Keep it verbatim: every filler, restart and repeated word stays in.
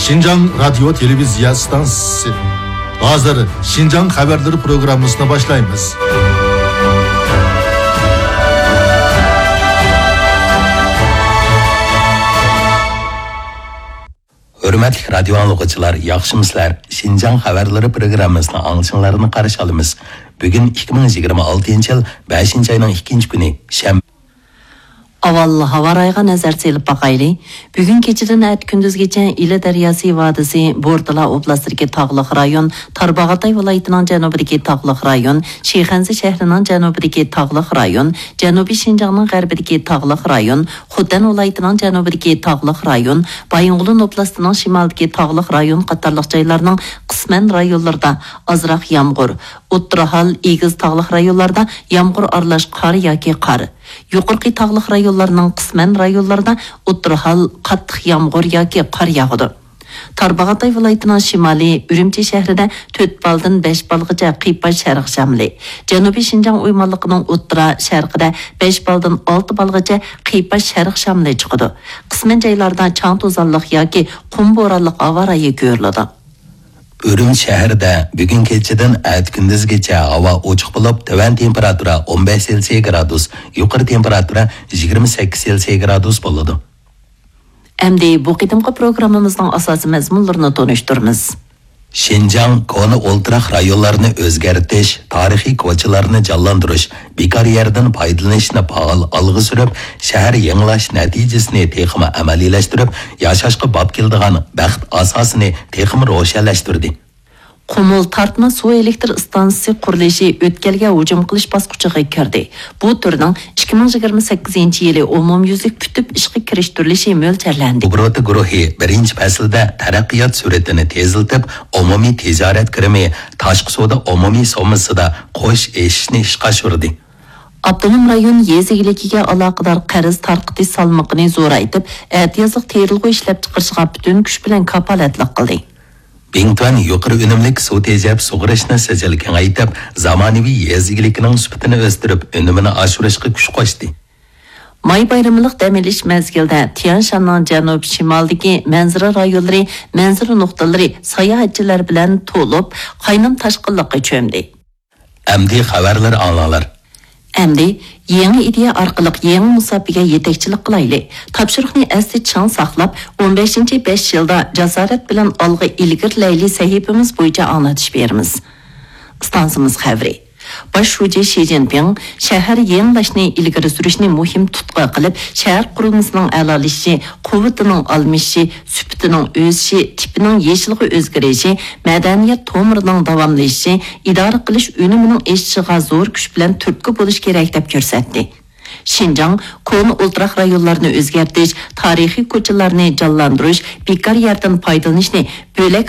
شىنجاڭ رادىيو تېلېۋىزىيە ئىستانسىسى. ھازىر شىنجاڭ خەۋەرلىرى پروگراممىسىنى باشلايمىز. ھۆرمەتلىك رادىيو ئاڭلىغۇچىلار، ياخشىمۇسىلەر؟ شىنجاڭ خەۋەرلىرى پروگراممىسىنىڭ ئاڭلىشىڭلارنى قارشى ئالىمىز. بۈگۈن ئىككى مىڭ يىگىرمە ئالتىنچى يىل بەشىنچى ئاينىڭ ئىككىنچى كۈنى، شەنبە. ئاۋۋال ھاۋا رايىغا نەزەر سېلىپ باقايلى. بۈگۈن كېچىدىن ئەتە كۈندۈزگىچە ئىلى دەرياسى ۋادىسى، بورتالا ئوبلاستىدىكى تاغلىق رايون، تارباغاتاي ۋىلايىتىنىڭ جەنۇبىدىكى تاغلىق رايون، شىخەنزە شەھىرىنىڭ جەنۇبىدىكى تاغلىق رايون، جەنۇبىي شىنجاڭنىڭ غەربىدىكى تاغلىق رايون، خوتەن ۋىلايىتىنىڭ جەنۇبىدىكى تاغلىق رايون، بايىنغولىن ئوبلاستىنىڭ شىمالىدىكى تاغلىق رايون قاتارلىق جايلارنىڭ قىسمەن رايونلىرىدا ئازراق يامغۇر، ئوتتۇرا ھال، ئېگىز تاغلىق رايونلاردا يامغۇر ئارىلاش قار ياكى قار، يۇقىرىقى تاغلىق رايونلارنىڭ قىسمەن رايونلىرىدا ئوتتۇرا ھال، قاتتىق يامغۇر ياكى قار ياغىدۇ. تارباغاتاي ۋىلايىتىنىڭ شىمالى ئۈرۈمچى شەھىرىدە تۆت بالدىن بەش بالغىچە قىيپاش شەرق شامىلى، جەنۇبىي شىنجاڭ ئويمانلىقىنىڭ ئوتتۇرا شەرقىدە بەش بالدىن ئالتە بالغىچە قىيپاش شەرق شامىلى چىقىدۇ. قىسمەن جايلاردا چاڭ توزانلىق ياكى قۇم بورانلىق ھاۋا رايى كۆرۈلىدۇ. ئۈرۈمچى شەھىرىدە بۈگۈن كېچىدىن ئەتە كۈندۈزگىچە ھاۋا ئوچۇق بولۇپ، تۆۋەن تېمپېراتۇرا ئون بەش سېلسىيە گرادۇس، يۇقىرى تېمپېراتۇرا يىگىرمە سەككىز سېلسىيە گرادۇس بولىدۇ. ئەمدى بۇ قېتىمقى پروگراممىمىزنىڭ ئاساسىي مەزمۇنلىرىنى تونۇشتۇرىمىز. شىنجاڭ كونا ئولتۇراق رايونلارنى ئۆزگەرتىش، تارىخىي كوچىلارنى جانلاندۇرۇش، بىكار يەردىن پايدىلىنىشنى پائال ئالغا سۈرۈپ، شەھەر يېڭىلاش نەتىجىسىنى تېخىمۇ ئەمەلىيلەشتۈرۈپ، ياشاشقا باب كېلىدىغان بەخت ئاساسىنى تېخىمۇ روشەنلەشتۈردى. قۇمۇل تارتما سۇ ئېلېكتر ئىستانسىسى قۇرۇلۇشى ئۆتكەلگە ھۇجۇم قىلىش باسقۇچىغا كىردى. بۇ تۈرنىڭ ئىككى مىڭ يىگىرمە سەككىزىنچى يىلى ئومۇميۈزلۈك پۈتۈپ ئىشقا كىرىشتۈرۈلۈشى مۆلچەرلەندى. ئوبوروتا گۇرۇھى بىرىنچى پەسىلدە تەرەققىيات سۈرئىتىنى تېزلىتىپ، ئومۇمىي تىجارەت كىرىمى تاشقى سودا ئومۇمىي سوممىسىدا قوش ئېشىشنى ئىشقا ئاشۇردى. ئاپتونوم رايون يېزا ئىگىلىكىگە ئالاقىدار قەرز تارقىتىش سالمىقىنى زورايتىپ، ئەتىيازلىق تېرىلغۇ ئىشلەپچىقىرىشىغا پۈتۈن كۈچ بىلەن كاپالەتلىك قىلدى. بىڭتۈەن يۇقىرى ئۈنۈملۈك سۇ تېجەپ سۇغىرىشنى سىجىل كېڭەيتىپ، زامانىۋى يېزا ئىگىلىكىنىڭ سۈپىتىنى ئۆستۈرۈپ، ئۈنۈمىنى ئاشۇرۇشقا كۈچ قوشتى. ماي بايرىملىق دەم ئېلىش مەزگىلىدە تيەنشاننىڭ جەنۇب شىمالىدىكى مەنزىرە رايونلىرى، مەنزىرە نۇقتىلىرى ساياھەتچىلەر بىلەن تولۇپ، قاينام تاشقىنلىققا چۆمدى. ئەمدى خەۋەرلەر ئاڭلاڭلار. ئەمدى يېڭى ئىدىيە ئارقىلىق يېڭى مۇساپىگە يېتەكچىلىك قىلايلى. تاپشۇرۇقنى ئەستە چىڭ ساقلاپ، ئون بەشىنچى بەش يىلدا جاسارەت بىلەن ئالغا ئىلگىرىلەيلى سەھىپىمىز بويىچە ئاڭلىتىش بېرىمىز. ئىستانسىمىز خەۋىرى. باش شۇجى شى جىنپىڭ شەھەر يېڭىلاشنى ئىلگىرى سۈرۈشنى مۇھىم تۇتقا قىلىپ، شەھەر قۇرۇلمىسىنىڭ ئەلالىشىشى، قۇۋۋىتىنىڭ ئالمىشىشى، سۈپىتىنىڭ ئۆسۈشى، تىپىنىڭ يېشىلغا ئۆزگىرىشى، مەدەنىيەت تومۇرىنىڭ داۋاملىشىشى، ئىدارە قىلىش ئۈنۈمىنىڭ ئېشىشىغا زور كۈچ بىلەن تۈرتكە بولۇش كېرەك، دەپ كۆرسەتتى. شىنجاڭ كونا ئولتۇراق رايونلارنى ئۆزگەرتىش، تارىخىي كوچىلارنى جانلاندۇرۇش، بىكار يەردىن پايدىلىنىشنى بۆلەك